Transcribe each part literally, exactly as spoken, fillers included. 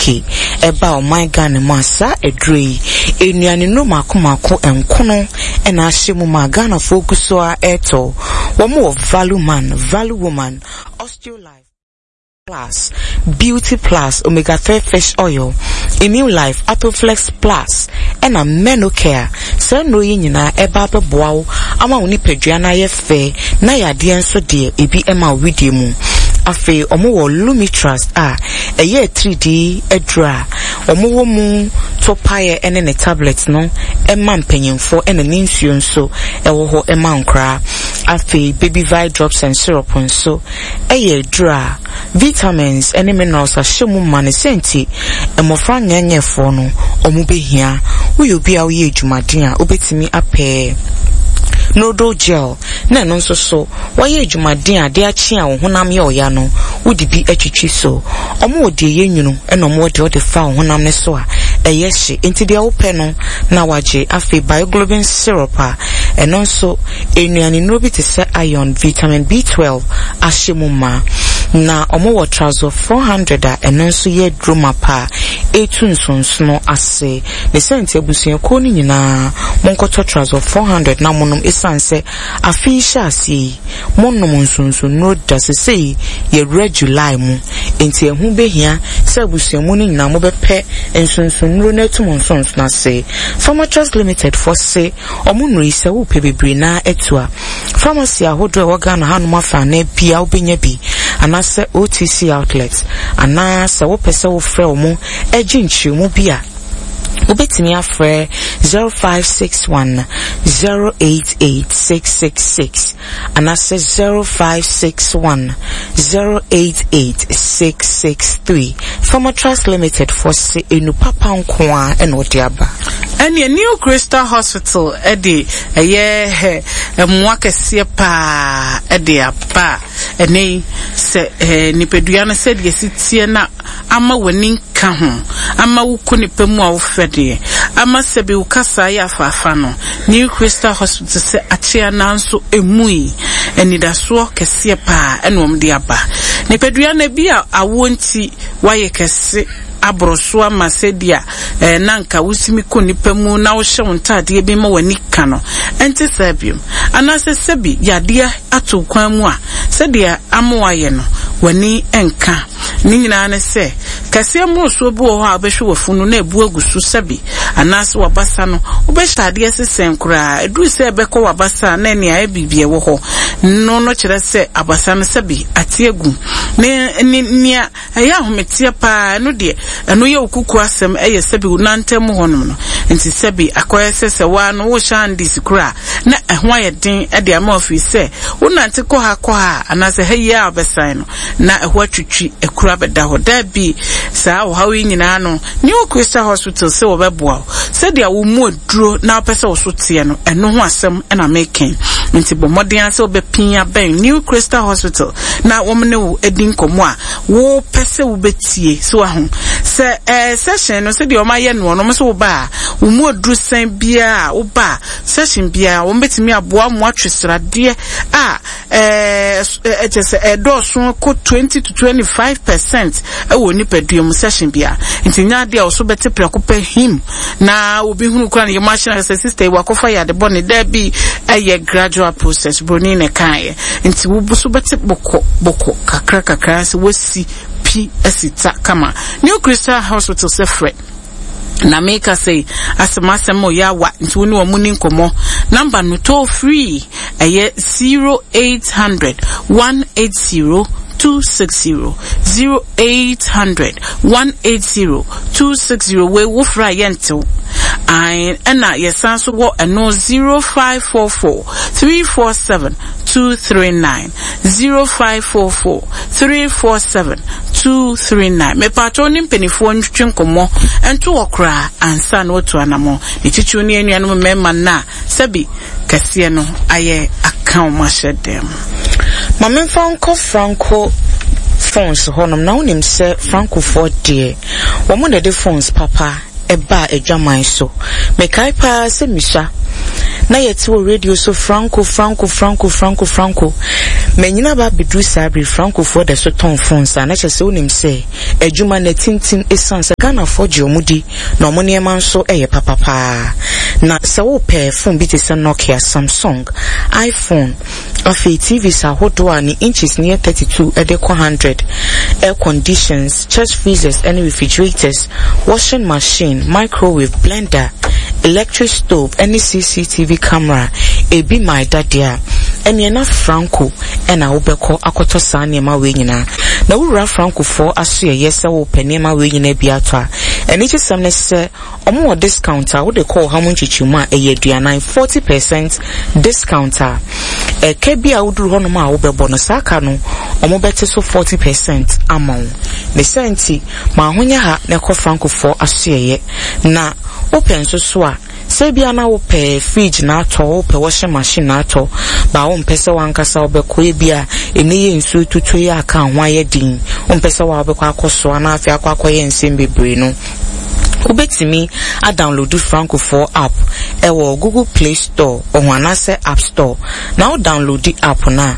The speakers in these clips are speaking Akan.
U K ɛba ɔman Ghana mu a, saa aduro yi, nnuane nnuro mako mako nkono ɛna ahyɛ mu ma Ghanafoɔ gu so a ɛretɔ. Wɔn wɔ Value Man, Value Woman, Osteolife Plus, Beauty Plus, Omega three Fish Oil, Immune Life, Atoflex Plus, ɛna Menocare. Saa nnuro yi nyinaa ɛba abɛboa wo ama wo nipadua no ayɛ fɛ na yadeɛ nso deɛ ebi ɛma wo widie mu. Afei ɔmo wɔ Lumitrust a ɛyɛ atiridii aduro a ɔmo wɔ mu topaeɛ ɛne ne tablet no ɛma mpanyinfoɔ, ɛna ne nsuo nso ɛwɔ hɔ ɛma nkoraa. Afei Baby Vi Drops and Syrup nso ɛyɛ aduro a vitamins ɛne minerals ahyɛ mu ma ne sɛnti mmɔfra nyɛnyɛfoɔ no ɔmo behia. Woyɛ obi a woyɛ adwumaden a, wobɛtumi apɛ Nodal Gel na ɛno nso so wɔyɛ adwumaden a de akye a wo honam yɛ ɔya no, wode bi atwitwi so. Ɔmo wɔ deɛ ɛyɛ nwunu, ɛna ɔmo wɔ deɛ ɔde fa wo honam no so a ɛyɛ hye, nti deɛ wopɛ no na wagye. Afei Bioglobin Syrup a ɛno nso nnuane nnuro bi te sɛ iron, vitamin B twelve ahyɛ mu ma, na ɔmo wɔ Trazo four hundred a ɛno nso yɛ duro mapa a ɛtu nsonsono ase ne sɛ. Nti abusuakuo no nyinaa monkɔtɔ Trazo four hundred na monom, ɛsiane sɛ afe yi hyɛ aseɛ yi monom nsonsonnuro da. Sesei yɛwura July mu, nti ɛho behia sɛ abusuamu no nyinaa mobɛpɛ nsonsonnuro no atum nsonsono ase. Pharmatrust Limited fɔ se ɔmo nnuro yi, sɛ wopɛ bebree naa atu a, pharmacy ahodoɔ a ɛwɔ Ghana hanom afa anaa bia wobɛnya bi, anaasɛ O T C outlet, anaa sɛ wopɛ sɛ wofrɛ ɔmo agye nkyerɛmu bi a, wobɛtumi afrɛ zero five six one zero eight eight six six six anaasɛ zero five six one zero eight eight six six three. Pharmatrust Limited fɔ se enu papa nko a ɛna ɔde aba. Ɛneɛ New Crystal Hospital ɛde ɛyɛ mmoa kɛseɛ paa ɛde aba a ɛnɛ yi sɛ ɛɛ nipadua no sɛdeɛ si teɛ na ama w'ani nka ho, ama wokɔ nipa mu a wofɛ deɛ, ama sɛbi wo kasa yɛ afaafa no, New Crystal Hospital sɛ akyea nanso emu yi anidasoɔ kɛseɛ paa ɛna wɔn de aba. Nipadua no bi a awoɔ nti wayɛ kɛse aboro so ama sɛdeɛ ɛɛ na nka wosimi kɔ nipa mu na wohyɛ wo ntaadeɛ bi ma w'ani ka no, ɛnte saa biom, anaasɛ sɛbi yadeɛ ato kwan mu a sɛdeɛ ama wayɛ no w'ani nka ne nyinaa ne sɛ kɛseɛ mmorosoɔ bi wɔ hɔ a wobɛhwɛ w'afunu na ebu agu so sɛbi, anaasɛ w'abasa no wobɛhyɛ adeɛ sesɛn koraa, ɛduru sɛ ɛbɛkɔ w'abasa a na ɛne ayɛ biribi ɛwɔ hɔ no no kyerɛ sɛ abasa no sɛbi ate agu ne ne nea ɛyɛ ahometeɛ paa. Ɛno deɛ ɛno yɛ wo kuku asɛm, ɛyɛ sɛbi wo nantam mu hɔnom no nti sɛbi akɔyɛ sɛ sɛ waa no wohyɛ andis koraa na ɛho ayɛ den ɛde ama ofiri sɛ wonante kɔ ha kɔ ha anaasɛ ha yi a wobɛsan no na ɛho atwitwi akura bɛda hɔ. Daabi, saa ɔhaw yi nyinaa no, New Crystal Hospital sɛ wɔbɛboa wo sɛdeɛ wo mu aduro na wopɛ sɛ wo so teɛ no, ɛno ho asɛm ɛna meken. Nti bɔ mmɔden sɛ wobɛpin abɛn New Crystal Hospital na wɔn ne wo adi nkɔmmɔ a wopɛ sɛ wobɛtie so aho sɛ ɛɛ session no sɛdeɛ wɔn ayɛ noɔ no. Wɔn nso woba a, wo mu aduru sɛn biara a woba a, session biara wɔn bɛtumi aboa mo atwe sradeɛ a ɛɛ ɛkyɛ sɛ ɛdɔɔso kɔ twenty to twenty five percent ɛwɔ nipadua mu session biara. Nti nya adeɛ a wɔso bɛte prɛko pɛ him na obi hunu kora ne yɛ mu ahyɛn sɛ sister yi wakɔfa yɛ ade bɔ ne daabi. Ɛyɛ gradual process, broni na ɛkaeɛ, nti wo so bɛte bɔkɔ bɔkɔ kakra kakra sɛ wasi pi asi ta kama. New Crystal Hospital sɛ frɛ na meka sɛ asɛm asɛm ɔyɛ awa, nti wo ne wɔn ni nkɔmmɔ. Number no toll free ɛyɛ zero eight hundred one eight zero two six zero, zero eight hundred one eight zero two six zero. Wei wofra a yɛntew ae, ɛna yɛsan so wɔ ɛno zero five four four three four seven two three nine, zero five four four three four seven two three nine. Mepatwa ne mpanimfoɔ ntwitwi nkɔmmɔ ɛnto wɔ koraa ansa na watu anammɔ ne titiriw ne anuanom mmarima no a sɛbi kɛseɛ no ayɛ aka wɔn ahyɛ dɛm. Ma memfa nkɔ Franco Phones hɔnom na wonim sɛ Francofoɔ deɛ, wɔn na de phones papa ɛbaa adwaman so. Mekae paa sɛ misa Na yɛte wɔ radio so Franco, Franco, Franco, Franco, Franco. Manyina ba abɛduru saa bere Francofoɔ da so tɔn phones a na kyerɛ sɛ wonim sɛ adwuma no atintim ɛsiane sɛ Ghanafoɔ gye ɔmo di na ɔmo nneɛma nso yɛ papapaa. Na sɛ wopɛ phone bi te sɛ Nokia, Samsung, iPhone, afei T Vs ahodoɔ a ne inches ne yɛ thirty-two ɛde kɔ hundred, air conditions, chest freezers ɛne refrigerators, washing machine, microwave, blender, electric stove ɛne C C T V camera ebi ma ɛda deɛ a ɛneɛ na Franco ɛna wobɛkɔ akɔtɔ saa nneɛma wei nyinaa. Na wowura Francofoɔ aso yɛyɛ sɛ wopɛ nneɛma wei nyinaa bi atɔ a, ɛne kyesɛm ne sɛ ɔmo wɔ discount a wode kɔ ɔha mu nkyekyɛmu a ɛyɛ aduanan, forty percent discount a ɛka bi a woduru hɔnom a wobɛbɔ no saa ka no ɔmo bɛte so forty percent ama wo. Ne sɛ nti ma ahonya ha na ɛkɔ Francofoɔ asoɛyɛ. Na wopɛ nso so a sɛ bia na wopɛ fridge na atɔ, wopɛ washing machine na atɔ ba, wompɛ sɛ wankasa wobɛkɔ, ebi a ɛnɛ yɛ nsuo tutuo yi aka ho ayɛ den, wompɛ sɛ wa wobɛkɔ akɔ soa na afei akɔ akɔyɛ nsɛm bebree no, wobɛtumi adownload Francofoɔ app ɛwɔ Google Play Store ɔho anaasɛ App Store. Na wo download app no a,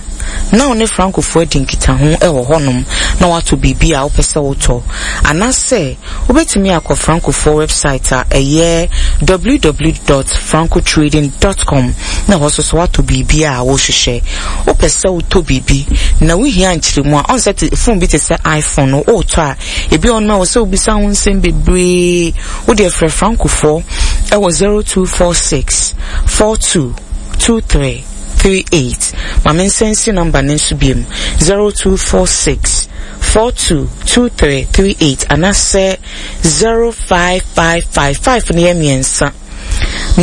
na wo ne Francofoɔ adi nkitaho ɛwɔ hɔnom na woatɔ biribi a wopɛ sɛ wotɔ, anaasɛ wobɛtumi akɔ Francofoɔ website a ɛyɛ w w w dot francotrading dot com na ɛhɔ nso so woatɔ biribi a wohwehwɛ. Wopɛ sɛ wotɔ biribi na wohia nkyerɛmu a ɔn sɛ phone bi te sɛ iPhone no wotɔ a, ebi wɔ nom a wɔ sɛ wobisa ho nsɛm bebree, wode frɛ Francofoɔ ɛwɔ zero two four six four two two three three eight. Maame nsɛnsi number ne nso biem, zero two four six four two two three three eight anaasɛ zero five five five five no yɛ mmiɛnsa,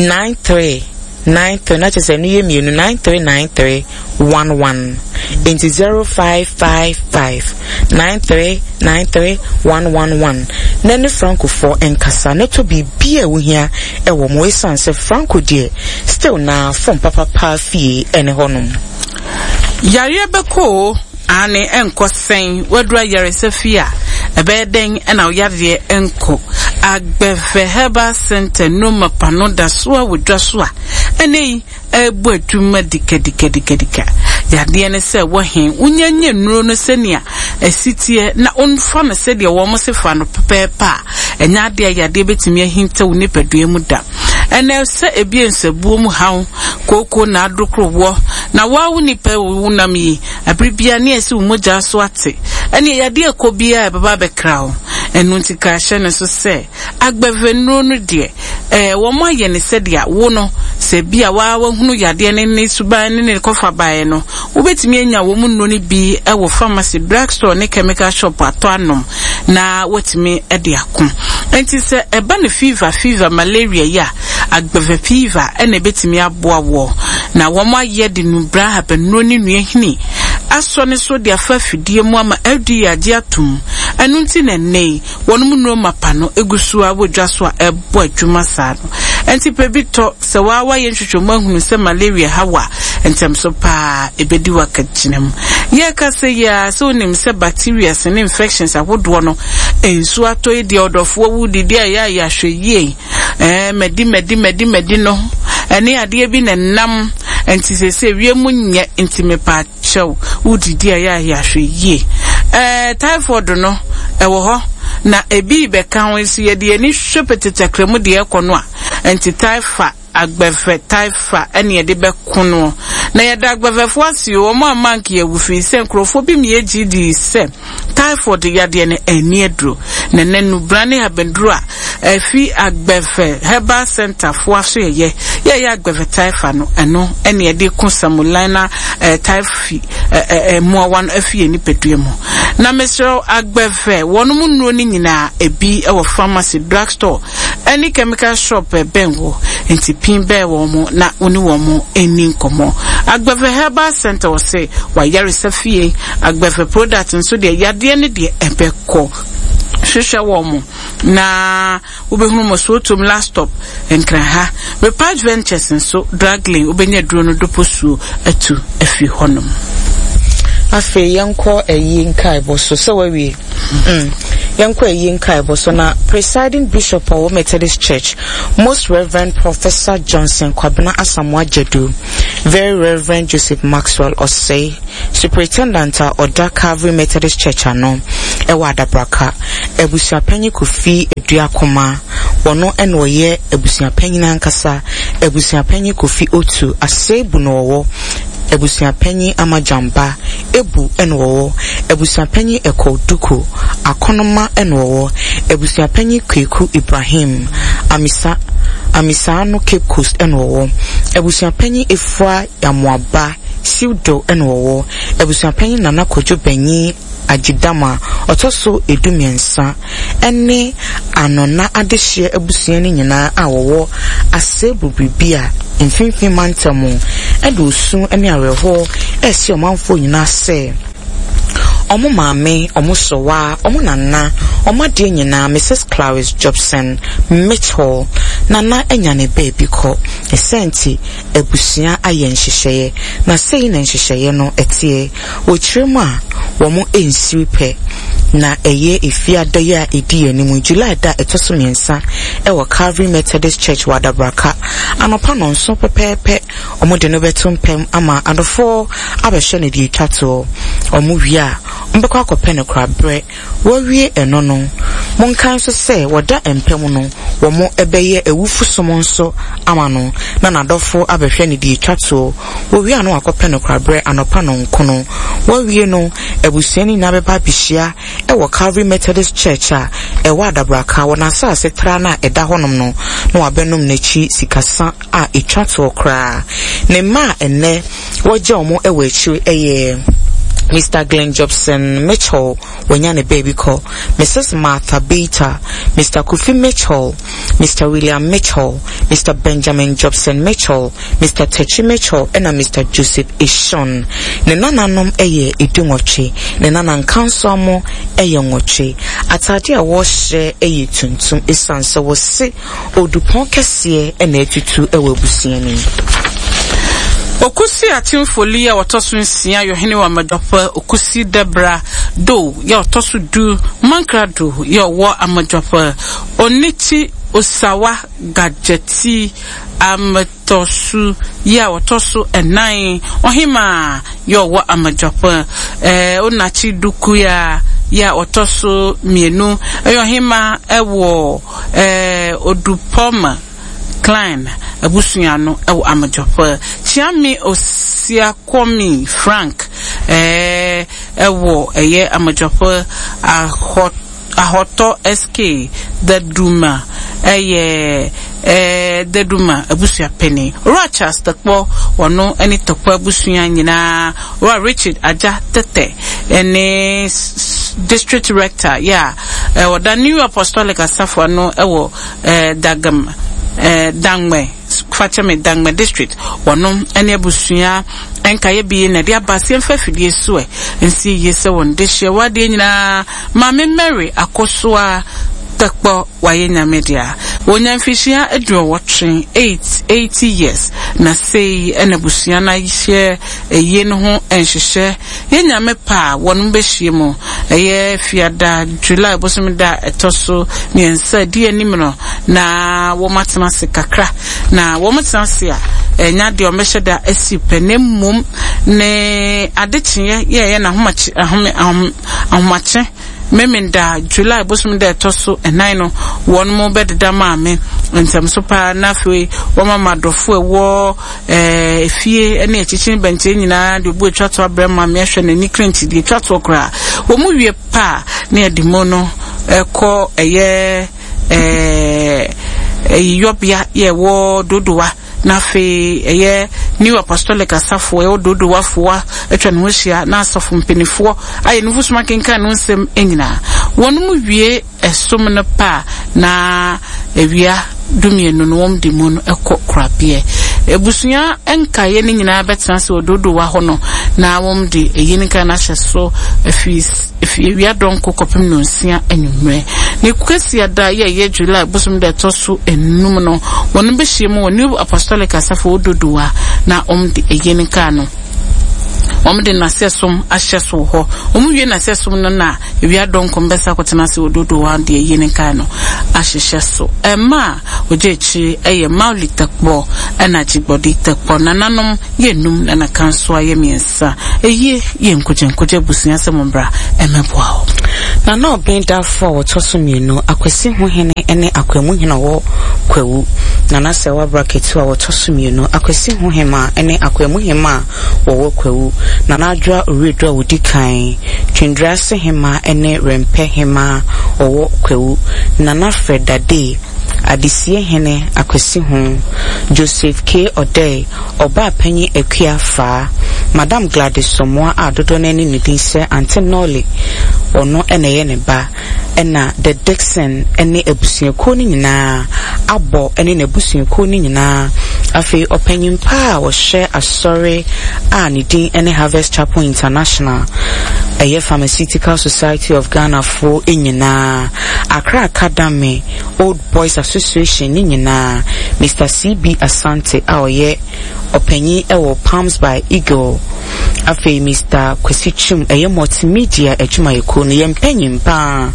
nine three nine three na kyerɛ sɛ ɛno yɛ mmienu, nine three nine three one one. Nti zero five five five nine three nine three one one one na ne Francofoɔ nkasa na ɛtɔ biribi a wohia ɛwɔ mo, ɛsiane sɛ Franco deɛ still na phone papapa fie ɛne hɔnom. Yareɛ bɛkɔ o, ane ɛnkɔ sɛn waduru ayaresa fie a ɛbɛyɛ dɛn ɛna yareɛ ɛnkɔ? Agbɛvɛ Herbal Center nnoma pano da so a wɔ dwa so a ɛnɛ yi ɛbɔ adwuma dikadikadikadika. Yadeɛ ne sɛ wɔhe wonyanya nnuro no sɛnea ɛsi teɛ na womfa no sɛdeɛ wɔn se fa no pɛpɛɛpɛ a, ɛnyɛ adeɛ a yadeɛ bɛtumi ahinta wo nipadua mu da. Ɛnɛ sɛ ebi nsabuo mu haw kooko na adokorowoɔ na waa wo nipa wo nam yi abere bia ne ɛsi wo mogya so ate, ɛne yadeɛ ɛkɔ biara ɛbɛba abɛkra wo. Ɛno nti ka hyɛ ne so sɛ Agbɛvɛ nnuro no deɛ ɛɛ wɔn ayɛ ne sɛdeɛ wo no sɛ bi a waa wahunu yadeɛ ne ne suban ne ne kɔfa baeɛ no, wobɛtumi anya wɔn nnuro no bi ɛwɔ pharmacy, drug store ne chemical shop atɔ anom na watumi ɛde ako. Nti sɛ ɛba ne fever fever malaria yi a, Agbɛvɛ fever ɛna ɛbɛtumi aboa wɔ na wɔn ayɛ de nubra ahabannuro ne nnua hini asɔ ne so de afa afidie mu ama F D A agye atom. Ɛno nti na nnɛ yi wɔn mu nnuro mapa no egu so a wɔ dwa so a ɛbɔ adwuma saa no. Nti pɛ bi tɔ. Sɛ waa wayɛ nhwehwɛmu ahunu sɛ malaria ha wa ntɛm so paa ebedi wakagyina mu. Yɛka sɛ yi a sɛ onim sɛ bacteria ne infections ahodoɔ no nsuo atɔ yi deɛ, ɔdɔfoɔ wu didi a yɛ a yɛahwɛ yie ɛɛ mɛdi mɛdi mɛdi mɛdi no ɛne adeɛ bi na nam nti sɛsɛ wiem nyɛ nti mepa kyɛw wodidi a yɛ a yɛahwɛ yie. Ɛɛ typhoid no ɛwɔ hɔ na ebi bɛka ho nso, yɛde ani hwɛ pɛtɛtɛkra mu deɛ ɛkɔ no a nti typha Agbɛvɛ typha ɛne yɛde bɛko no. Na yɛda agbɛvɛfoɔ ase o, wɔn a mank yɛ firi sɛ nkurɔfoɔ bi mi yɛ di sɛ typhoid yadeɛ no ɛni aduro na nɛ nubra ne abɛduro a ɛfi Agbɛvɛ Herbal Center foɔ aso yɛyɛ yɛyɛ Agbɛvɛ typha no, ɛno ɛne yɛde ko Salmonella ɛɛ typhi ɛɛ mmoawa no afi yɛn nipadua mu. Na mesrɛ Agbɛvɛ wɔn mu nnuro no nyinaa ebi ɛwɔ pharmacy, drug store ɛne chemical shop ɛbɛn wɔ nti pin bɛɛ wɔn mo na wɔne wɔn mo ɛni nkɔmɔ. Agbɛvɛ Herbal Center wɔ sɛ wayaresa fie. Agbɛvɛ product nso deɛ, yadeɛ no deɛ ɛbɛkɔ. Hwehwɛ wɔn mo na wobɛhunu mo Sotom Last Stop, Nkran. Repatch Ventures nso draglin wobɛnya duro no dopo suo atu afi hɔnom. Afei yɛnkɔ ɛyi nkaebɔ so sɛ wawie mm. Yɛnkɔ ayi nkaebɔ so na Presiding Bishop a ɔwɔ Methodist Church, Most Reverend Professor Johnson Kwabena Asamoah Gyadu, Very Reverend Joseph Maxwell Osei, Superintendent a ɔda Calvary Methodist Church ano ɛwɔ Adabraka, Abusuapanyin Kofi Aduakoma, wɔno ɛna ɔyɛ abusuapanyin ankasa, Abusuapanyin Kofi Otu, Asebu na ɔwɔ, Abusuapanyin Amajamba, Ebu ɛna ɔwɔ, Abusuapanyin Ɛkɔ Duku, Akonoma ɛna ɔwɔ, Abusuapanyin Kweku Ibrahim, Amisa Amisano Cape Coast ɛna ɔwɔ, Abusuapanyin Efua Yamoaba, Siwdo ɛna ɔwɔ, Abusuapanyin Nana Kwadwo Banyin Agyidama, ɔtɔ so edu mmiɛnsa, ɛne Anona adehyeɛ abusua no nyinaa a wɔwɔ Asebu biribi a mfimfini mantam ɛde osu ne awerɛhoɔ ɛsi ɔmanfoɔ nyinaa sɛ ɔmo maame, ɔmo sɔwa, ɔmo nana, ɔmo adeɛ nyinaa Missus Clarice Jobson Mitchell nana anya ne baabi kɔ. Ɛsɛ nti abusua ayɛ nhyehyɛeɛ na sei na nhyehyɛeɛ no ɛteɛ. Wɔkyerɛ mu a wɔn nsiri pɛ na ɛyɛ efiada yi a edi anim July da ɛtɔ so mmiɛnsa ɛwɔ Calvary Methodist Church wɔ Adabraka anɔpa nɔnso pɛpɛɛpɛ. Wɔn de no bɛto mpɛm ama adɔfoɔ abɛhyɛ no deɛ etwa toɔ. Wɔn wie a wɔbɛkɔ akɔpɛ no korabrɛ. Wɔawie ɛno no, monkae nso sɛ wɔda mpɛm no wɔn ɛbɛyɛ awufo som nso ama no na n'adɔfo abɛhwɛ no deɛ etwa toɔ. Wɔwie a no wakɔpɛ no korabrɛ anɔpa nɔnkono. Wɔawie no, abusua no nyinaa bɛba abɛhyia ɛwɔ Calvary Methodist Church a ɛwɔ Adabraka wɔ n'asase tra no a ɛda hɔnom no na wabɛnom n'akyi sikasa a etwa toɔ koraa. Ne mma a ɛnnɛ wɔgya wɔn ɛwɔ akyiri ɛyɛ Mister Glenn Jobson Mitchell, wɔnya ne baabi kɔ, Missus Martha Bater, Mister Kofi Mitchell, Mister William Mitchell, Mister Benjamin Jobson Mitchell, Mister Techi Mitchell, ɛna Mister Joseph Eshon. Ne nananom ɛyɛ edu nwɔtwe, ne nana nkanso ɛyɛ nwɔtwe. Atade a wɔhyɛ ɛyɛ tuntum esiane sɛ wɔse odupɔn kɛseɛ ɛna atutu ɛwɔ abusua no mu. Okusi Akyemfoli a wɔtɔ so nsia yɛ ɔhene wɔ Amadwapɛ. Okusi Debra Do yɛ ɔtɔ so du Mankra Do yɛ ɔwɔ Amadwapɛ. Onichi Osawa Gadzeti Ametɔsu yɛ a wɔtɔ so ɛnan ɔhema yɛ ɔwɔ Amadwapɛ. Ɛɛ Onachi Dukuya yɛ a ɔtɔ so mmienu ɛyɛ ɔhema ɛwɔ ɛɛ Odupɔma Klein abusua no ɛwɔ Amadwapɛ. Kyiame Osiakomi Frank ɛɛ ɛwɔ ɛyɛ Amadwapɛ. Ahɔ Ahɔtɔ S K Daduma ɛyɛ ɛɛ Daduma abusua panyin. Owura Charles Tɛkpɔ wɔno ɛne Tɛkpɔ abusua nyinaa, Owura Richard Agya Tɛtɛ ɛne district rector yɛ a ɛwɔ New Apostolic Asafo ano ɛwɔ ɛɛ Dagam ɛɛ Dangmɛ, fakyɛmɛ Dangmɛ district, wɔno ɛne abusua nkaeɛ bi na ɛde aba aseɛ mfa afidie so ɛ nsi yie sɛ wɔn de hyɛ wadeɛ nyinaa. Maame Mary Akosoa Tɛkpɔ wayɛ Nyame dea. Wonya mfihyia aduɔwɔtwe, eight eighty years, na sei ɛna abusua no ahyɛ ɛyie no ho nhyehyɛ. Yɛ Nyame pa a wɔn bɛhyia mu ɛyɛ fiada July bosom da ɛtɔ so mmiɛnsa di anim no na wɔn atena ase kakra. Na wɔn tena ase a ɛnya deɛ wɔn bɛhyɛ da asi pɛ, na mmom ne adekyeɛ yɛyɛ n'ahomakye ahome ahom ahomakye Memenda July bosom da ɛtɔ so ɛnan no wɔn mo bɛdeda maame ntɛm so paa, na afei wɔn ama adɔfo ɛwɔ ɛɛ efie ɛne akyikyi bɛnkyɛn nyinaa de obu atwa to abrɛ maame ahwɛ n'ani krenkyi deɛ atwa toɔ koraa. Wɔn mu wie paa na yɛde mu no ɛkɔ ɛyɛ ɛɛ ɛyiyɔbea yɛ ɛwɔ Dodowa, na afei ɛyɛ New Apostolic Asafo ɛwɔ Dodowafoɔ atwa ne ho ahyia na asafo mpanimfoɔ ayɛ nufu soma kenkan no nsɛm nyinaa. Wɔn mu wie ɛsom no pa na awia dumienu no wɔn de mu no ɛkɔ korabeɛ. Ebusua nkaeɛ no nyinaa bɛtena ase wɔ Dodowa hɔ no na wɔn de eyi ne nkaeɛ no ahyɛ so efi efi awia dɔnko kɔpem nonsia anwummerɛ. Ne kwasiada yɛ yɛ July bosom da ɛtɔ so enum no wɔn bɛhyia mu wɔ New Apostolic Asafo wɔ Dodowa na wɔn de eyi ne nkaeɛ no Wɔn de n'asɛsom ahyɛ so wɔ hɔ. Wɔn wie n'asɛsom no na ewia dɔnko mbɛsa akɔtena ase wɔ dodo hɔ deɛ yie ne nkae no ahyehyɛ so. Ɛma a ogye akyire ɛyɛ Mauli Tɛkpɔ ɛna Gyigbɔdi Tɛkpɔ. Nananom yɛ num na naka nso ayɛ mmiɛnsa. Eyie yɛ nkogye abusua sɛ mo mbra ɛmɛboa wo. Nana ɔbɛn dafo a wɔtɔ so mmienu, Akwasi ho hene ne Akwamu hene a ɔwɔ Kwawu. Nana sɛ wabra ketewa a wɔtɔ so mmienu, Akwasi ho hema ne Akwamu hema a wɔwɔ Kwawu. Nana Adwoa Oredu a wodi kan, Twendurase hema ne Rempɛ hema a ɔwɔ Kwawu. Nana Fred Dade, Adesie hene Akwasi ho. Joseph K. Ɔdɛe, ɔbaa panyin Akua Faa. Madam Gladys Somoa a dodoɔ no ani ne din sɛ Aunty Nolly, ɔno ɛna ɛyɛ ne ba. Ɛna The Dixon ne abusuakuo no nyinaa abɔ ne n'abusuakuo no nyinaa. Afei ɔpanyin pa a wɔhyɛ asɔre a ne din ne Harvest Chapel International, ɛyɛ Pharmaceutical Society of Ghana foɔ nyinaa, Accra Academy Old Boys Association ne nyinaa, Mister C B Asante a ɔyɛ ɔpanyin ɛwɔ Palms by Eagle. Afei Mister Kwasi Twum, ɛyɛ multimedia adwumayɛkuo no yɛn mpanyin paa,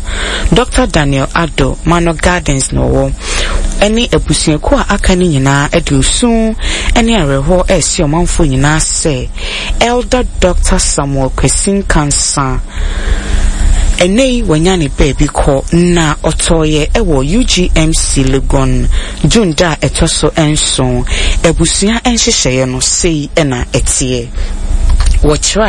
Doctor Daniel Ado Mano Gardens na ɔwɔ, ɛne abusuakuo a aka no nyinaa ɛde osu ɛne awerɛhoɔ ɛresi ɔmanfoɔ nyinaa sɛ Elder Doctor Samuel Kwesi Nkansa ɛnɛ yi wanya ne baabi kɔ na ɔtɔɔyɛ ɛwɔ U G M C Legon June da a ɛtɔ so nson. Abusua nhyehyɛeɛ no sei ɛna ɛteɛ. Wɔkyerɛ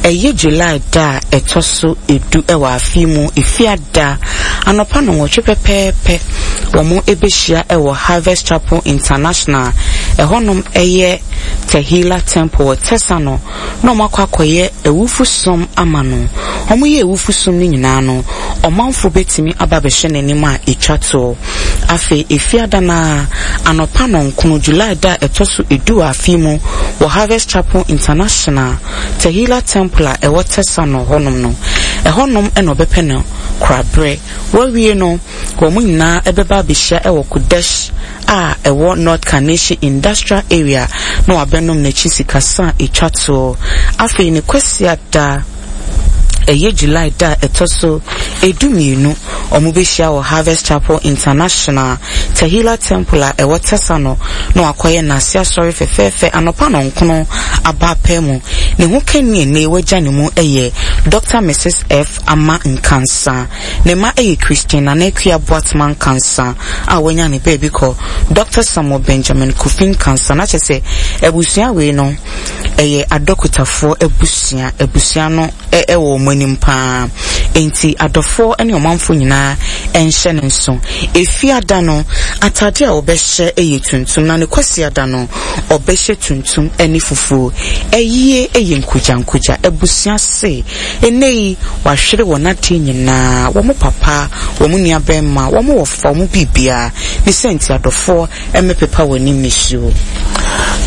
a ɛyɛ July da a ɛtɔ so edu ɛwɔ afe mu, Efiada anɔpa no nwɔtwe pɛpɛɛpɛ, wɔn ɛbɛhyia ɛwɔ Harvest Chapel International, ɛhɔnom ɛyɛ Tehila Temple wɔ Tɛsa no, na wɔn akɔ akɔyɛ awufo som ama no. Wɔn yɛ awufo som no nyinaa no, ɔmanfo bɛtumi aba abɛhyɛ n'anim a etwa toɔ. Afei Efiada na anɔpa nɔnkono, July da a ɛtɔ so edu wɔ afe mu, wɔ Harvest Chapel International Tehila Temple a ɛwɔ Tɛsa no hɔnom no, ɛhɔnom ɛna ɔbɛpɛ no koraberɛ. Wɔawie no, wɔn nyinaa ɛbɛba abɛhyia ɛwɔ Kodesh a ɛwɔ North Kaneshie Industrial Area na wabɛnom n'akyi sikasa a etwa toɔ. Afei ne Kwasiada, ɛyɛ July da a ɛtɔ so edu mmienu, wɔn bɛhyia wɔ Harvest Chapel International Tehila Temple a ɛwɔ Tɛsa no na wakɔyɛ n'ase asɔre fɛfɛɛfɛ anɔpa nɔnkono aba apɛ mu. Ne ho kani ne wagya ne mu ɛyɛ Doctor Missus F Ama Nkansa. Ne mma ɛyɛ Christian Nana Akua Boatema Nkansa a wanya ne baabi kɔ, Doctor Samuel Benjamin Kofi Nkansa. Na kyerɛ sɛ abusua wei no ɛyɛ adɔkotafoɔ abusua. Abusua no ɛwɔ wɔn anim paa, nti adɔfoɔ ne ɔmanfoɔ nyinaa ɛnhyɛ ne nso. Efiada no atade a ɔbɛhyɛ ɛyɛ tuntum, na ne Kwasiada no ɔbɛhyɛ tuntum ɛne fufuo. Ɛyie ɛyɛ nkogyankogya abusua se ɛnɛ yi wahwere wɔn adeɛ nyinaa, wɔn papa, wɔn nua bɛrima, wɔn wɔfa, wɔn biribiara ne sɛ, nti adɔfoɔ ɛmɛpepa wɔn anim nisuo.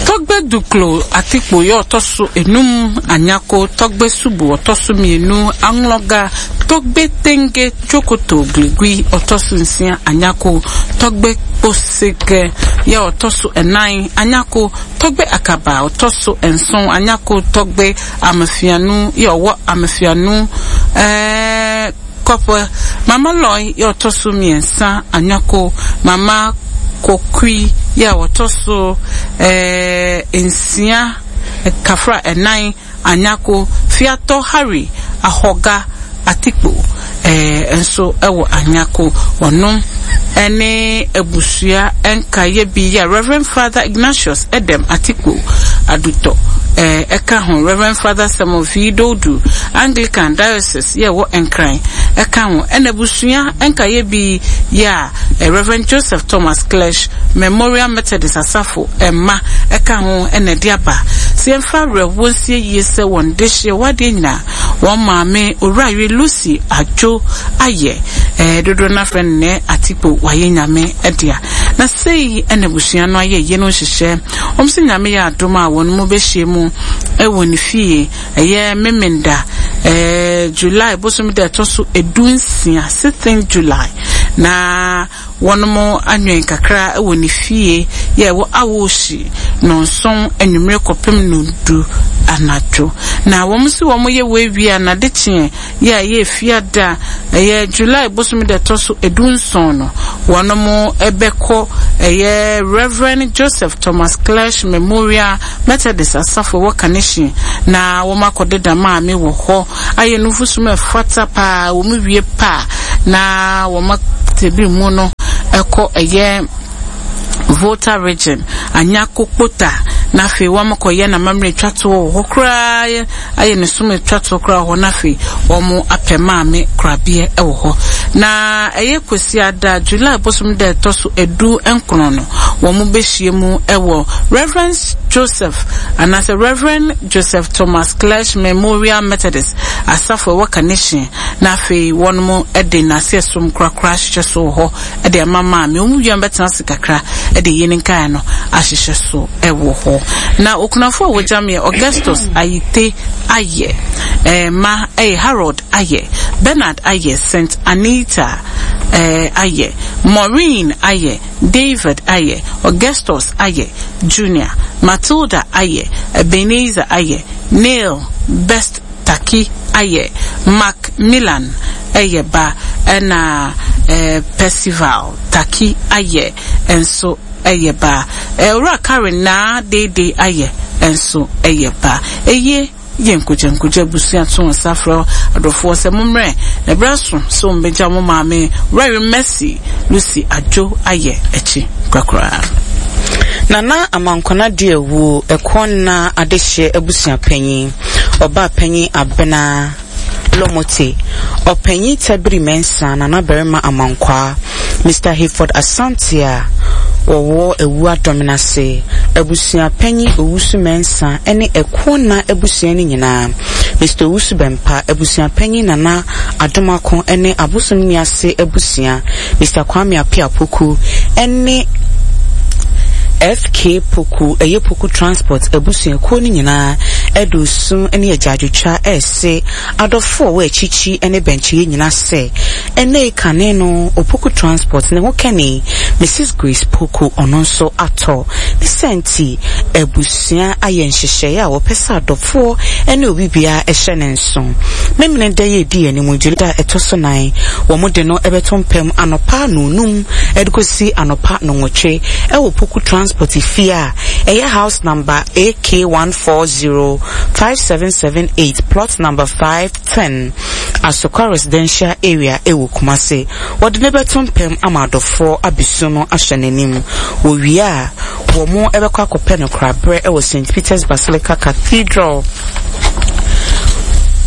Tɔgbe Duklo Atikpo yɛ ɔtɔ so enum Anyako. Tɔgbe Subu ɔtɔ so mmienu Anlɔga. Tɔgbe Tenge Tsokoto Gligui ɔtɔ so nsia Anyako. Tɔgbe Kposeke yɛ ɔtɔ so ɛnan Anyako. Tɔgbe Akaba ɔtɔ so nson Anyako. Tɔgbe Amefianu yɛ ɔwɔ Amefianu ɛɛ kɔpɛ. Mama Lɔi yɛ ɔtɔ so mmiɛnsa Anyako. Mama Kokui yɛ ɔtɔ so ɛɛ nsia kafra ɛnan Anyako. Fiatɔ Harry Ahɔga Atikpo ɛɛ nso ɛwɔ Anyako. Ɔno ɛne abusua nkaeɛ bi yɛ Reverend Father Ignatius Edem Atikpo Adutɔ ɛɛ ɛka ho, Reverend Father Samuel V Dodu, Anglican Diocese yɛ wɔ Nkran ɛka ho, ɛna abusua nkaeɛ bi yɛ a Reverend Joseph Thomas Clesh Memorial Methodist Asafo ɛma ɛka ho. Ɛna ɛde aba sɛ yɛmfa awerɛhoɔ nsie yie sɛ wɔn de hyɛ wadeɛ nyinaa wɔn maame Owurayere Lucy Adwo ayɛ ɛɛ dodoɔ n'afrɛ no nɛ Atikpo wayɛ Nyame ɛdea. Na sei ɛna abusua no ayɛ yie no nhyehyɛ. Wɔn sɛ Nyame yɛ adom a, wɔn mu bɛhyia mu ɛwɔ ne fie, ɛyɛ Memenda, ɛɛ July bosom da ɛtɔ so edu nsia, sixteen July. Na wɔnom anwen kakra wɔ ne fie yɛ wɔ awohyi nonson anwummere kɔpem no du anadwo. Na wɔn si wɔn yɛ wɔ awia na de kyeɛ yɛ yɛ fiada ɛyɛ July bosom de ɛtɔ so edunson no, wɔnom ɛbɛkɔ ɛyɛ Reverend Joseph Thomas Clesh Memorial Methodist Asafo wɔ Kaneshie, na wɔn akɔdeda maame wɔ hɔ ayɛ nufusu ɛfata paa. Wɔn wie paa na wɔn atebiri mu no ɛkɔ ɛyɛ Volta Region Anyako Kpota, na afei wɔn kɔyɛ na mammerɛ twa toɔ wɔ hɔ koraa, ayɛ ne som twa toɔ koraa wɔ hɔ, na afei wɔn apɛ maame korabeɛ wɔ hɔ. Na ɛyɛ Kwasiada July bosom da ɛtɔ so edu nkron no, wɔn bɛhyia mu wɔ Reverend Joseph anaasɛ Reverend Joseph Thomas Clesh Memorial Methodist Asafo ɛwɔ Kaneshie, na afei wɔn de n'ase som korakora ahyehyɛ so wɔ hɔ de ama maame. Wɔn wia bɛtena ase kakra de yie ne nkae no ahyehyɛ so wɔ hɔ. Na okunafo a wɔgya meɛ Augustus Ayite Ayɛ, ɛɛ ma ɛyɛ Harold Ayɛ, Bernard Ayɛ, Saint Anita ɛɛ Ayɛ, Maureen Ayɛ, David Ayɛ, Augustus Ayɛ Junior, Matilda Ayɛ, Ebenezer Ayɛ, Neil Best Taki Ayɛ, Mark Milan ɛyɛ ba, ɛna ɛɛ Percival Taki Ayɛ nso ɛyɛ ba, ɛwura Karen Naa Dede Ayɛ nso ɛyɛ ba. Eye yɛ nkogya nkogya abusua to nsa frɛ adɔfoɔ sɛ mommrɛ na ɛberɛ so sɛ wɔmbɛgya mo maame Rary Mercy Lucy Adwo Ayɛ akyi korakora. Nana Amankona di ewu ɛkɔ na adehyeɛ abusua panyin, ɔbaa panyin Abena Lomote, ɔpanyin Tabiri Mensa, Nana Barima Amankwa, Mister Hayford Asante a wɔwɔ ewu adɔmenase, abusua panyin Owusu Mensa ɛne ɛko na abusua no nyinaa, Mister Owusu Bɛmpa, abusua panyin Nana Adomako ɛne abosom niase abusua, Mister Kwame Apia Poku ɛne F K Poku, ɛyɛ Poku Transport abusuakuo no nyinaa ɛde osu ne agyaadwotwa ɛɛse adɔfoɔ wɔ akyikyi ne bɛnkyɛeɛ nyinaa sɛ ɛnɛ kane no Opoku Transport ne ho kɛne Missus Grace Poku ɔno nso atɔ ne sɛnti abusua ayɛ nhyehyɛeɛ a wɔpɛ sɛ adɔfoɔ ne obi biara ɛhyɛ ne nso. Memene da yɛ di anim da ɛtɔ so nan, wɔn de no ɛbɛto mpam anɔpa nonum ɛde kɔsi anɔpa nonwɔtwe ɛwɔ Poku Transport fie a ɛyɛ house number A K one four zero five seven seven eight, plot number five ten, Asokwa Residential Area ɛwɔ Kumasi. Wɔde ne bɛto mpam ama adɔfoɔ abesu no ahyɛ n'anim. Wɔwie a wɔn ɛbɛkɔ akɔpɛ no korabrɛ ɛwɔ Saint Peter's Basilica Cathedral.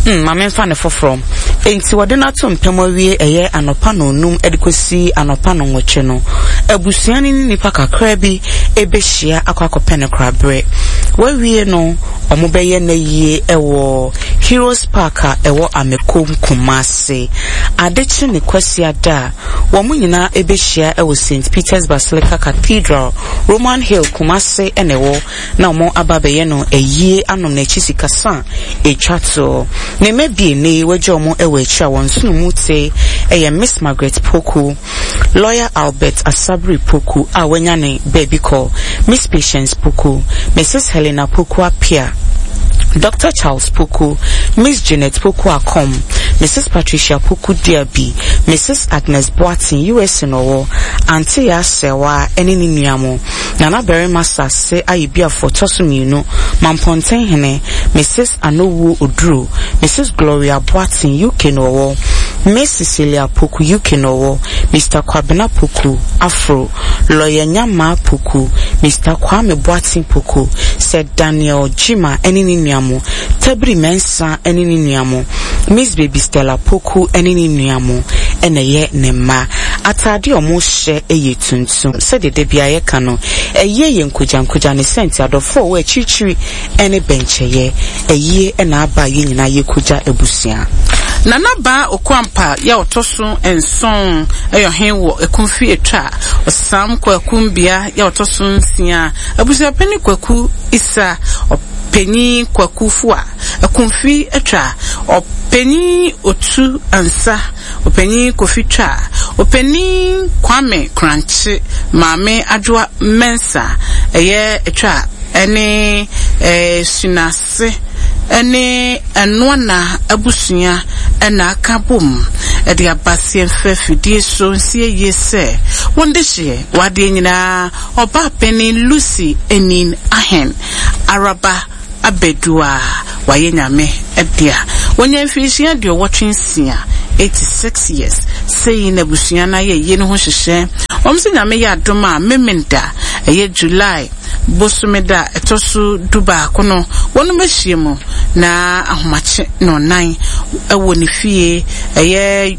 Hmm, maame mfa ne foforɔ. Enti wɔde no ato mpam awie ɛyɛ anɔpa nonum ɛde kɔsi anɔpa nonwɔtwe no, abusua no ne nipa kakra bi ɛbɛhyia akɔ akɔpɛ no korabrɛ. Wɔawie no, wɔn bɛyɛ n'ayie ɛwɔ Heroes Park a ɛwɔ Amekom Kumasi. Adekye ne Kwasiada a wɔn nyinaa ɛbɛhyia ɛwɔ Saint Peter's Basilica Cathedral, Roman Hill, Kumasi ɛna ɛwɔ, na wɔn aba abɛyɛ no ayie anom n'akyi sikasa etwa toɔ. Ne mma bie wagya wɔn ɛwɔ akyi a wɔn nsono mu te ɛyɛ Miss Margaret Poku, Lawyer Albert Asabri Poku a wanya ne baabi kɔ, Miss Patience Poku, Missus Helena Poku Apia, Doctor Charles Poku, Miss Janet Poku Akom, Missus Patricia Poku Diaby, Missus Agnes Boateng, U S Nowo, Auntie Yasewa ɛne ne nua mo, Nana Barima Sase Ayibiafo tɔ so mmienu, Mamponten Hene, Missus Anowu Oduro, Missus Gloria Boateng, U K Nowo, Miss Cecilia Poku, U K Nowo, Mister Kwabena Poku, Afro, Lawyer Nyama Poku, Mister Kwame Boateng Poku, Sir Daniel Jima ɛne ne nua mo, Tabiri Mensa ɛne ne nua mo, Miss Baby Stella Poku ɛne ne nua mo, ɛna ɛyɛ ne mma. Ataade a ɔmo hyɛ ɛyɛ tuntum. Sɛdeɛ da biara yɛka no, ɛyɛ yɛ nkogya nkogya ne sɛnti adɔfoɔ a wɔwɔ akyirikyiri ɛne bɛnkyɛyɛ. Ɛyie ɛna aba a yɛn nyinaa yɛkogya abusua. Nana Baa Okwampa yɛ ɔtɔ so nson ɛyɛ ɔhen wɔ Ekumfi Etwa. Ɔsam Kwaku Mbea yɛ ɔtɔ so nsia. Abusuapɛni Kwaku Isa, ɔpanyin Kwaku Fua, Ekumfi Etwa, ɔpanyin Otu Ansa, Opanyin Kofi Twa, Opanyin Kwame Krankye, Maame Adwoa Mensa, ɛyɛ Twa ɛne ɛɛ Sunase ɛne Ɛnoana abusua ɛna aka bom ɛde aba seɛmfɛ fidie so nsie yie sɛ wɔn de hyeɛ wadeɛ nyinaa ɔbaa panin Lucy Enin Ahen Araba Abedua wayɛ Nyame ɛdea wɔnya mfirinhyia deɛ ɔwɔtwe nsia, eighty-six years. Sɛyi na abusua no ayɛ yie no ho hyehyɛ. Wɔn sɛ Nyame yɛ adom a, Memenda ɛyɛ July bosome da ɛtɔ so du baako no, wɔn bɛhyia mu na ahomakye na ɔnan ɛwɔ ne fie ɛyɛ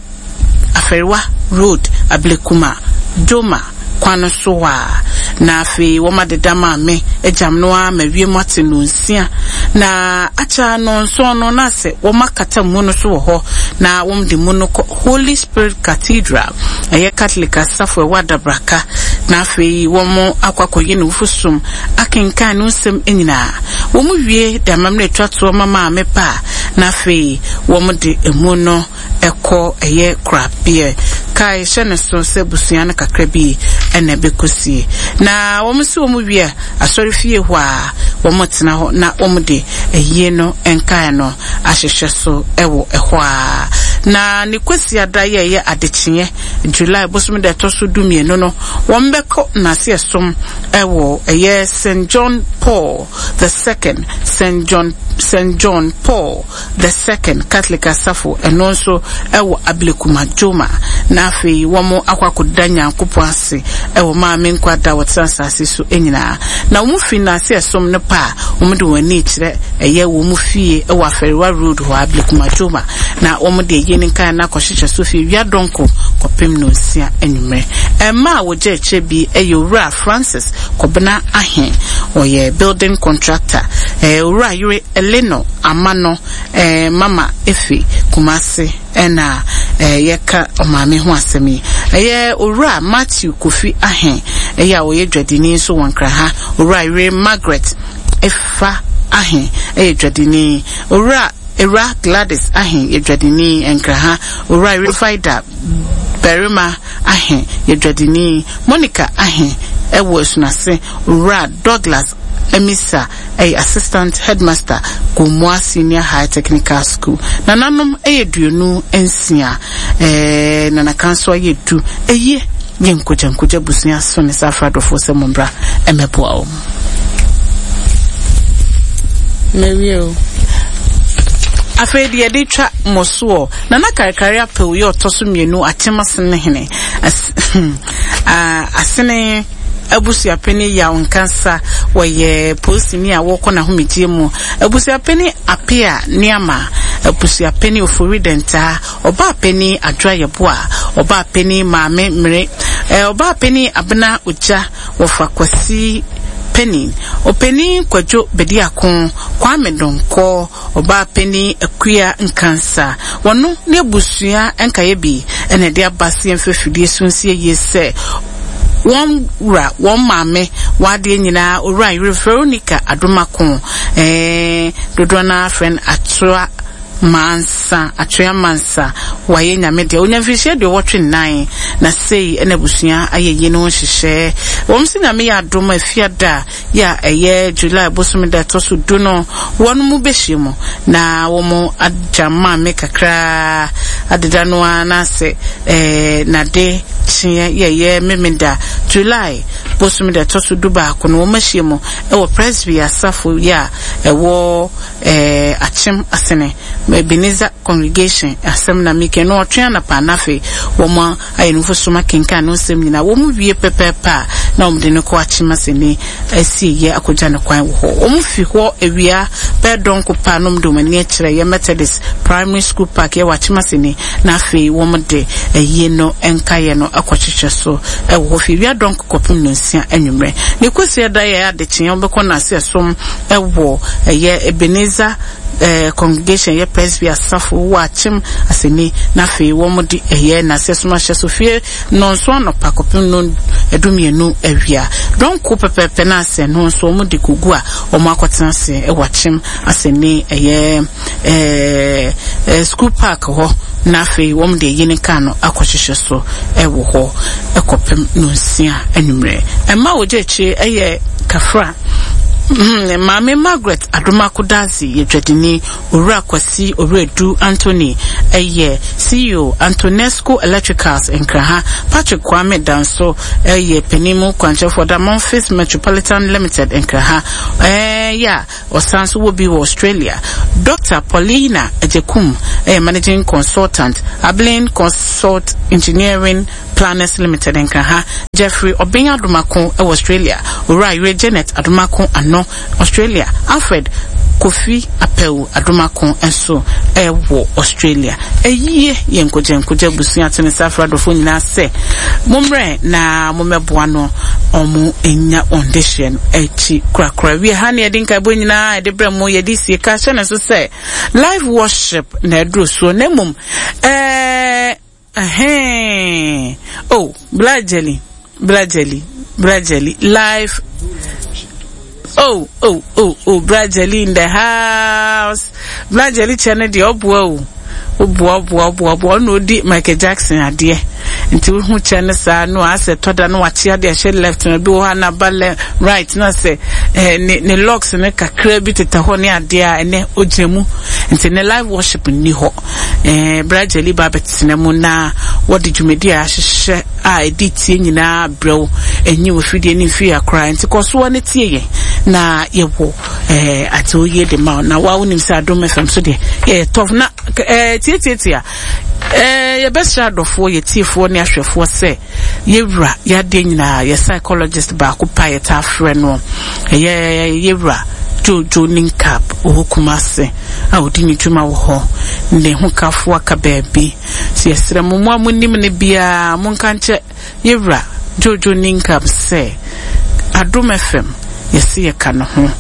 Afɛriwa Road, Ablekuma Doma kwan so a, na afei wɔn adeda maame agyam no a ma wiem ate no nsia na akyɛ no nson no, na sɛ wɔn akata mu no so wɔ hɔ na wɔn de mu no kɔ Holy Spirit Cathedral, ɛyɛ Catholic asafo ɛwɔ Adabraka, na afei wɔn akɔ akɔyɛ ne wofo akenkan no nsɛm nyinaa. Wɔn wie de amammerɛ atwa toɔ ma maame pa, na afei wɔn de emu no ɛkɔ ɛyɛ korabea kae hyɛ ne so sɛ busua no kakra bi ɛna ɛbɛkɔsie. Na wɔn nso wɔn wie asɔre fie hɔ a, wɔn tena hɔ na wɔn de ɛyie no nkae no ahyehyɛ so ɛwɔ ɛhɔ a. Na ne kwasi ada yɛ ɛyɛ adekyeɛ July bosom da ɛtɔ so du mmienu no, wɔn bɛkɔ n'ase ɛsom ɛwɔ ɛyɛ Saint John Paul the Second, Saint John Saint John Paul the Second Catholic asafo, ɛno nso ɛwɔ Ablekuma Dwoma, na afei wɔn akɔ akɔda Nyankopɔn ase ɛwɔ maame nkwa da wɔtena asase so nyinaa. Na wɔn fi n'ase ɛsom no pa a, wɔn de wɔn ani kyerɛ ɛyɛ wɔn fie ɛwɔ Afɛriwa Road hɔ, Ablekuma Dwoma, na wɔn de ɛyɛ ne nkan na akɔhyehyɛ so fie wia dɔnko kɔpem no nsia anwummerɛ. Mmaa a wɔgye akyire bi ɛyɛ Owura Francis Kɔbena Ahen, ɔyɛ building contractor, ɛɛ Owura Yere Eleno Amano, ɛɛ Mama Efe Kumase ɛna ɛɛ yɛka ɔmaame ho asɛm yi. Ɛyɛ Owura Matthew Kofi Ahen, ɛyɛ a ɔyɛ dwadini nso wɔ Nkran. Owura Yere Margaret Efa Ahen ɛyɛ dwadini. Owura Ewura Gladys Ahen yɛ dwadini Nkran. Owura Yere Faida Barima Ahen yɛ dwadini. Monica Ahen ɛwɔ Asunase. Owura Douglas Emisa ɛyɛ assistant headmaster, Gomoa Senior High Technical School. Nananom ɛyɛ duonu nsia, ɛɛ nanaka nso ayɛ du. Ɛyie yɛ nkogya nkogya busua so ne saa afradɔfoɔ sɛ mo mbra ɛmɛboa wɔn. Mawie o. Afei deɛ yɛde twa mmɔ soɔ, Nana Karikari Apɛw yɛ ɔtɔ so mmienu Akyem Asene hene Asene abusuapɛni Yaw Nkansa, wɔyɛ polisini a wɔkɔ n'ahomegye mu. Abusuapɛni Apea Nneɛma, abusuapɛni Ofori Dɛntaa, ɔbaapɛni Adwoa Yɛboa, ɔbaapɛni Maame Mmere, ɔbaapɛni Abena Ogya, wɔfa Kwasi Panin, ɔpanin Kwadwo Bediako, Kwame Donkɔ, ɔbaapɛni Akua Nkansa, wɔno ne abusua nkaeɛ bi ɛna ɛde aba se yɛmfa fidie so nsie yie sɛ wɔn wura wɔn maame wadeɛ nyinaa Owura Yere Veronica Adomako, ɛɛ dodoɔ no afrɛ no Atoa Mansa, Atoa Mansa, wayɛ Nyame deɛ onya mfirihyia deɛ ɔwɔtwe nnan. Na sei ɛna abusua ayɛ yie no ho hyehyɛ. Wɔn sɛ Nyame yɛ adom a, Efiada yɛ a ɛyɛ July bosome da ɛtɔ so du no, wɔn mu bɛhyia mu na wɔn agya maame kakraa adeda no ara, na sɛ ɛɛ nade kyeɛ yɛyɛ Memeda July bosome da ɛtɔ so du baako no, wɔn ahyia mu ɛwɔ Presby asafo yɛ a ɛwɔ ɛɛ Akyem Asene Ebenezer Congregation asɛm na mike no ɔtwe anapa, na afei wɔn ayɛ no soma kenkan no nsɛm nyinaa. Wɔn wie pɛpɛɛpɛ a, na wɔn de no kɔ Akyem Asene asie yɛ akɔgya ne kwan wɔ hɔ. Wɔn fi hɔ awia bɛɛ dɔnko pa na wɔn de wɔn ani akyerɛ yɛ Methodist Primary School Park yɛ wɔ Akyem Asene, na afei wɔn de ɛyie no nkaeɛ no akɔkyekyɛ so ɛwɔ hɔ fi wia dɔnko kɔpem no nsia anwummerɛ. Ne kosi ɛda yɛ adekyeɛ, wɔbɛkɔ n'ase ɛsom ɛwɔ ɛyɛ Ebenezer ɛɛ Congregation yɛ Presby asafo wɔ Akyem Asene, na afei wɔn de ɛyɛ n'ase ɛsom ahyɛ so fie nɔnso anɔpa kɔpem no ɛdumienu awia dɔnko pɛpɛɛpɛ, na asɛ no nso wɔn de kogu a wɔn akɔtena ase ɛwɔ Akyem Asene ɛyɛ ɛɛ ɛɛ school park hɔ. Na afei wɔn de eyi ne kaa no akɔhyehyɛ so ɛwɔ hɔ ɛkɔpem nonsia anwummerɛ. Ɛma wogye akyire ɛyɛ Kafra. Mm, Maame Margaret Adomako Dazi yɛ dwadini. Owura Kwasi Owuredu Anthony ɛyɛ C E O Antonesco Electricals Nkraha. Patrick Kwame Danso ɛyɛ panin kwankyerɛfoɔ da Memphis Metropolitan Limited Nkraha. Ɛɛ ya ɔsan so wɔ bi wɔ Australia. Doctor Paulina Ejekum ɛyɛ managing consultant Abilene Consult Engineering Planners Limited Nkraha. Jeffrey Obeng Adomako ɛwɔ Australia. Owura Yere Janet Adomako Ano Australia. Alfred Kofi Apeu Adomako nso ɛwɔ Australia. Eyie yɛ nkogye nkogye abusua tene safra dɔfo nyinaa sɛ mommrɛ na mommɛboa no ɔmo enya ɔndehyeɛ no akyi korakora. Wie ha ne yɛde nkaebɔ nyinaa yɛde brɛ mo, yɛde sie ka hyɛ ne so sɛ live worship na ɛduru soɔ na mmom ɛɛ ɛhɛn oh Black Jelly Black Jelly Black Jelly live. Oh, oh, oh, oh, Black Jelly in the house. Black Jelly kyɛ no deɛ ɔboa o. Ɔboa, ɔboa, ɔboa, ɔboa. Ɔno odi Michael Jackson adeɛ. Nti wohu kyɛ no saa no asɛ tɔda no wakye adeɛ ahyɛ left no bi wɔ hɔ na ba left right na sɛ eh, ne ne locks no kakra bi tetɛ hɔ ne adeɛ a ɛnɛ ogyina mu. Nti ne live worship nni hɔ. Eh, Black Jelly ba bɛtena mu na wɔde dwumadi a ahyehyɛ a ɛdi tie nyinaa brɛw enyi wɔ fidie ne mfiri akora. Nti kɔ soɔ ne tie yɛn na yɛwɔ eh, ate oyie de ma na wa wonim sɛ Adom F M so deɛ yɛyɛ tɔf na eh, tietietie a eh, yɛbɛsrɛ adɔfoɔ, yɛtiefoɔ ne ahwɛfoɔ sɛ yɛwura yɛadeɛ nyinaa yɛ psychologist baako pa yɛtaa frɛ no ɛyɛ yɛwura Jojo Ninkap ɔwɔ Kumase a ɔdi ne dwuma wɔ hɔ ne ho kafoɔ aka baabi. Sɛ yɛsrɛ mo mo a monim ne biara monka nkyɛ yɛwura Jojo Ninkap sɛ Adom F M yɛse yɛka ne ho.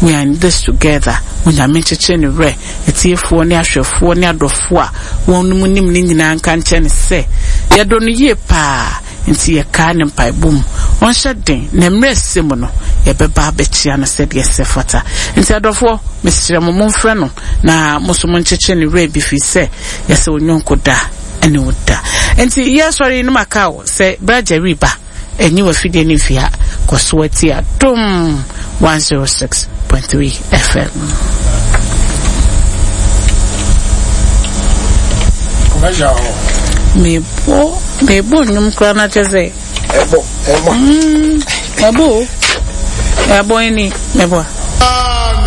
We are in this together. Onyame nkyekyere ne werɛ, atiefoɔ ne ahwɛfoɔ ne adɔfoɔ a wɔn mu nim ne nyinaa nka nkyɛ ne sɛ yɛdɔ no yie paa nti yɛkaa ne mpaebɔ mu. Ɔnhyɛ den na mmerɛ ɛsɛ mu no yɛbɛba abɛkyia no sɛdeɛ ɛsɛ fata. Nti adɔfoɔ, mesrɛ mo momfrɛ no na mo nso monkyekyere ne werɛ bi firi sɛ yɛsɛ onyɔnko da ɛne wo da. Nti yɛsɔre no maka wo sɛ Black Jelly ba enyi wɔ fidie ne mfia kɔ so ati Adom one oh six point three F M. Mebo mebo nnwom koraa na kyerɛ sɛ ɛbɔ ɛbɔ ɛbɔ ɛbɔ ni mebo.